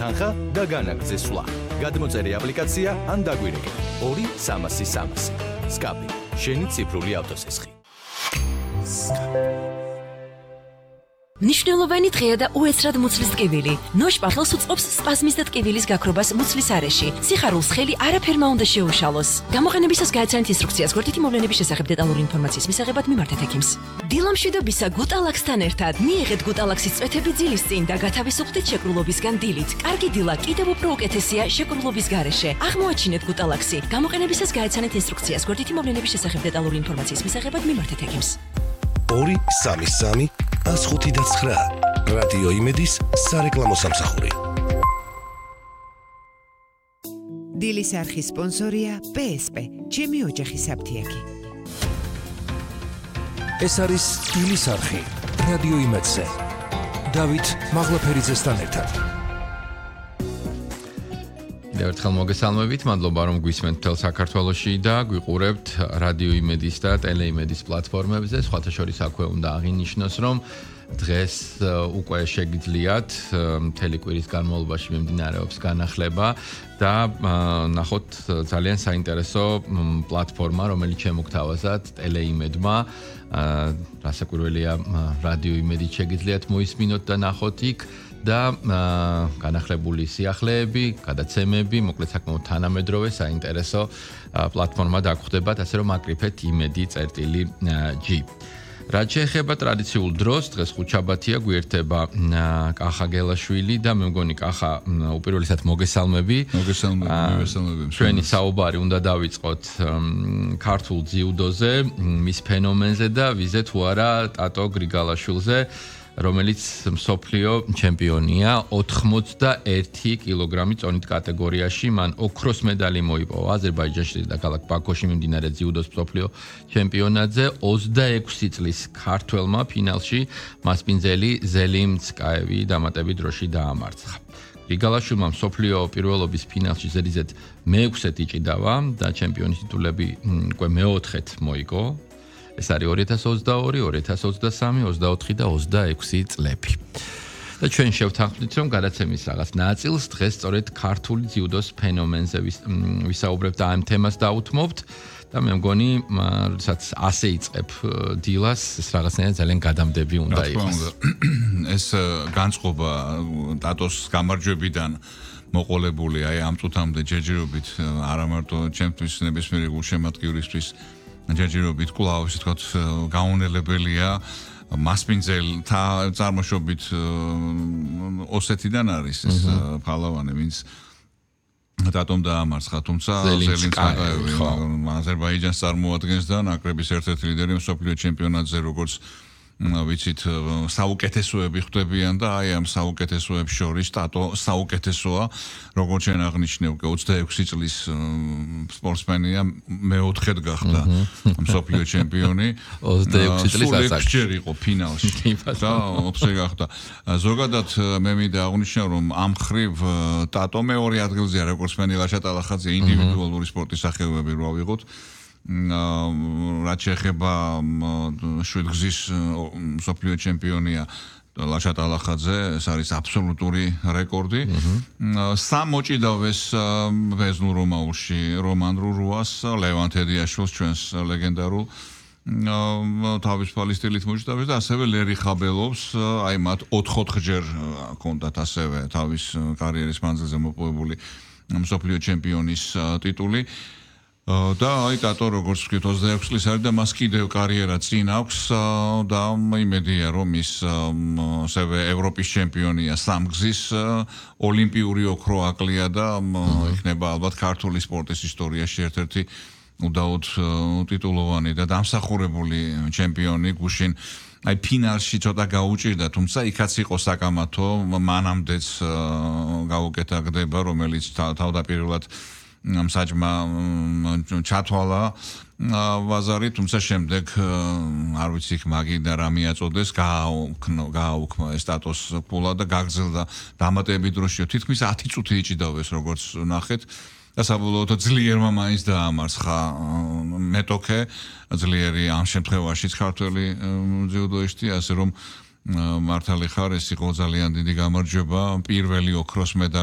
თანხა და განაგრძე სვლა. გადმოწერი აპლიკაცია ან დაგვირეკე 2-300-300. სკაპი, შენი ციფრული ავტოსესხი. მნიშვნელოვანი დღეა და უეცრად მუცლის ტკივილი. ნოშ პარლოს უწყობს სპაზმის და ტკივილის გაქრობას მუცლის არეში. სიხარულს ხელი არაფერმა უნდა შეუშალოს. გამოყენებისას გააცანით ინსტრუქციას გვერდითი მოვლენების შესახებ დეტალური ინფორმაციის მისაღებად მიმართეთ ექიმს. დილამშვიდობისა გუტალაქსთან ერთად მიიღეთ გუტალაქსის წვეთები ძილის წინ და გათავისუფლდით შეკრულობისგან დილით. კარგი დილა კიდევ უფრო უკეთესია შეკრულობის გარეშე. აღმოაჩინეთ გუტალაქსი. გამოყენებისას გააცანით ინსტრუქციას გვერდითი მოვლენების შესახებ დეტალური ინფორმაციის მისაღებად მიმართეთ ექიმს. 2-3-3 105-9 რადიო იმედის სარეკლამო სამსახური. დილის არხის სპონსორია PSP, ჩემი ოჯახის აფთიაქი. ეს არის დილის არხი რადიო იმედზე. დავით მაღლაფერიძესთან ერთად. ერთხელ მოგესალმებით, მადლობა რომ გვისმენთ მთელ საქართველოში და გვიყურებთ რადიო იმედის და ტელეიმედის პლატფორმებზე. სხვათა შორის აქვე უნდა აღინიშნოს, რომ დღეს უკვე შეგიძლიათ მთელი კვირის განმავლობაში მიმდინარეობს განახლება და ნახოთ ძალიან საინტერესო პლატფორმა, რომელიც შემოგთავაზათ ტელეიმედმა. რასაკვირველია, რადიო იმედით შეგიძლიათ მოისმინოთ და ნახოთ იქ და განახლებული სიახლეები, გადაცემები, მოკლედ საკმაოდ თანამედროვე საინტერესო პლატფორმა დაგხვდებათ, ასე რომ აკრიფეთ იმედი-g. რაც შეეხება ტრადიციულ დროს, დღეს ხუთშაბათია, გვერდება კახა გელაშვილი და მე მგონი კახა უპირველესად მოგესალმები. მოგესალმები. ჩვენი საუბარი უნდა დავიწყოთ ქართულ ძიუდოზე, მის ფენომენზე და ვიზე თუ არა ტატო გრიგალაშვილზე, რომელიც მსოფლიო ჩემპიონია 81 კილოგრამის წონით კატეგორიაში. მან ოქროს медаლი მოიპოვა აზერბაიჯანში და ქალაქ ბაქოში მიმდინარე ძიუდოს მსოფლიო ჩემპიონატზე. 26 წლის ქართველმა ფინალში მასპინძელი ზელიმ ცკაევი დამატებით დროში დაამარცხა. გრიგალაშვილმა მსოფლიო პირველობის ფინალში ზედიზედ მე-6 იჭიდავა და ჩემპიონის ტიტულები უკვე მე-4-ეთ მოიგო. ეს არის 2022, 2023, 24 და 26 წლები. და ჩვენ შევთანხმდით, რომ გადაცემის რაღაც ნაწილს დღეს სწორედ ქართული ძიუდოს ფენომენზე ვისაუბრებთ და ამ თემას დაუთმობთ და მე მგონი, როდესაც ასე იწყებ დილას, ეს რაღაცნაირად ძალიან გადამდები უნდა იყოს. ეს განწყობა ტატოს გამარჯვებიდან მოყოლებული აი ამ წუთამდე ჯერჯერობით არა მარტო ჩემთვის ნებისმიერი გულშემატკივრისთვის ჯერჯერობით კვლავ ისე თქვა გაუნელებელია მასპინძელთა წარმოშობით ოსეთიდან არის ეს ფალავანი, ვინც დატომ დაამარცხა, თუმცა ზელიმ ცკაევი აზერბაიჯანს წარმოადგენს და ნაკრების ერთ-ერთი ლიდერი მსოფლიო ჩემპიონატზე, როგორც ვიცით, საუკეთესოები ხვდებიან და აი ამ საუკეთესოებს შორის ტატო საუკეთესოა, როგორც ჩვენ აღნიშნე, უკვე 26 წლის სპორტსმენია, მე-4-ეთ გახდა მსოფლიო ჩემპიონი. 26 წლის ასაკში ჯერ იყო ფინალში და 4-ე გახდა. ზოგადად მე მინდა აღნიშნო, რომ ამ ხრივ ტატო მეორე ადგილზეა, როგორც მენი ლაშატალახაძე ინდივიდუალური სპორტის სახეობები რო ავიღოთ. რაც შეეხება შვიდგზის მსოფლიო ჩემპიონია ლაშატალახაძე, ეს არის აბსოლუტური რეკორდი. სამ მოჭიდავეს ვეზნურ რომაულში რომან რურუას, ლევან თედიაშვილს, ჩვენს ლეგენდარულ თავისუფალი სტილით მოჭიდავეს და ასევე ლერი ხაბელოვს, აი მათ 4-4-ჯერ ჰქონდათ ასევე თავის კარიერის მანძილზე მოპოვებული მსოფლიო ჩემპიონის ტიტული. და აი ტატო როგორც ვთქვით 26 წლის არის და მას კიდევ კარიერა წინ აქვს და იმედია რომ ის ასევე ევროპის ჩემპიონია სამგზის ოლიმპიური ოქრო აკლია და იქნება ალბათ ქართული სპორტის ისტორიაში ერთ-ერთი უდაოდ ტიტულოვანი და დამსახურებული ჩემპიონი გუშინ აი ფინალში ცოტა გაუჭირდა, თუმცა იქაც იყო საკამათო, მანამდეც გაუკეთა გდება, რომელიც თავდაპირველად საჭმა ჩათვალა ვაზარი, თუმცა შემდეგ არ ვიცი იქ მაგი და რა მიაწოდეს, გააუქმა ეს სტატუს ფულა და გაგრძელდა დამატებით დროში. თითქმის 10 წუთი იჭიდავეს, როგორც ნახეთ. და საბოლოოდ ძლიერმა მაინც დაამარცხა მეტოქე, ძლიერი ამ შემთხვევაშიც ქართველი ძიუდოისტი, ასე რომ მართალი ხარ, ეს იყო ძალიან დიდი გამარჯვება, პირველი ოქროს медаლი